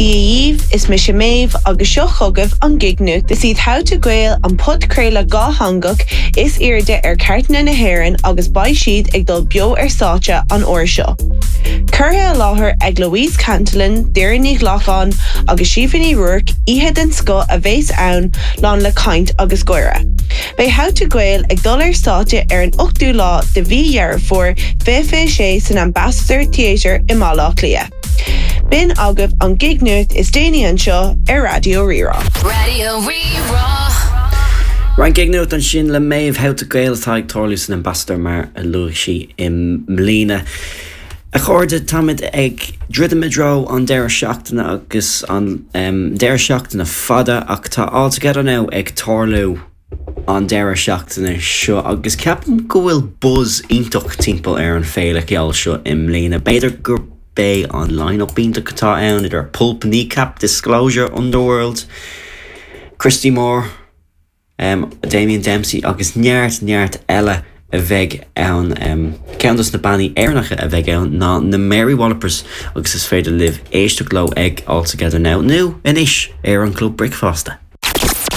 Dia dhaoibh, is mise Méabh agus seo chugaibh an Gig Nuacht. Is iad How to Gael an podchraoladh dhátheangach is airde ar chairteanna na hÉireann agus beidh siad ag dul beo ar stáitse an uair seo. Curtha i láthair ag Louise Cantillon, Doireann Ní Ghlacáin agus Síofra Ní Ruairc, oíche den scoth a bheas ann, lán le caint agus gáire. Beidh How to Gael ag dul ar stáitse ar an 8ú lá de mhí Dheireadh Fómhair 2026 san Ambassador Theatre i mBaile Átha Cliath. B'in agaibh an Gig Nuacht is déanaí anseo ar Raidió Rí-Rá. Raidió Rí-Rá. Roinnt Gig Nuacht ansin le Méabh How to Gael atá ag tarlú san Ambassador mar a luaigh sí i mbliana. A chairde, táimid ag druidim i dtreo an deireadh seachtaine agus an deireadh seachtaine fada ach tá All Together Now ag tarlú an deireadh seachtaine seo agus ceapaim go bhfuil buzz iontach timpeall ar an féile cheoil seo i mbliana. B'fhéidir gurb é an line-up iontach atá ann idir Pulp, Kneecap, Disclosure, Underworld, Christy Moore, Damien Dempsey agus neart neart eile a bheidh ann. Ceann dos na bannaí Éireannacha a bheidh ann ná na Mary Wallopers agus is féidir libh éisteacht leo ag All Together Now nó anois ar an Club Bricfeasta.